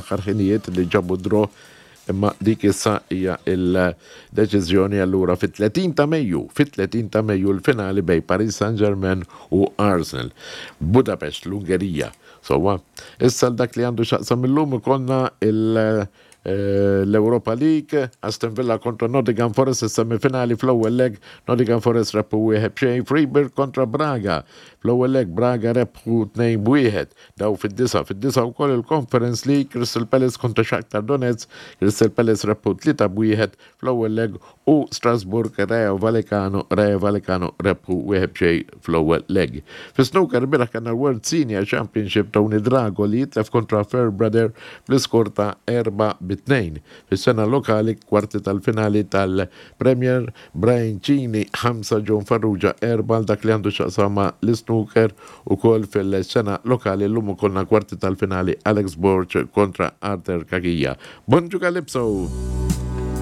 fl-aħħar ħinijiet li ġabu draw imma dik issa hija il-deċiżjoni allura fit-30 ta' Mejju, fit-30 ta' Mejju l-finali bejn Paris Saint-Germain u Arsenal. Budapest, l-Ungerija. Sewwa, issa dak li għandu x'jaqsam illum ikollna il- l-Europa League, Aston Villa kontra Nottingham Forest is-semifinali fl-ewwel leg, Nottingham Forest rebħu 1-0, Freiburg kontra Braga. Fl-ewwel leg Braga rebħu 2-1. Daw fid-disa, fid-disa wkoll il-Conference League, Crystal Palace kontra Shakhtar Donetsk, Crystal Palace rebħu 3-1 fl-ewwel leg u Strasbourg Rayo Vallecano, Rayo Vallecano rebħu 1-0 fl-ewwel leg. Fi snooker ilbieraħ kellna l-World Senior Championship Tony Drago li jitlef kontra Fairbrother bl-iskor ta' 4-2. Fis-sena lokali kwarti tal-finali tal-Premier Brian Cini 5 John Farrugia 4 għal dak li għandu x'jaqsam ma' l-isnooker ukoll fil-sena lokali llum ikollna kwarti tal-finali Alex Borg kontra Arthur Cachia. Bonġu Calypso!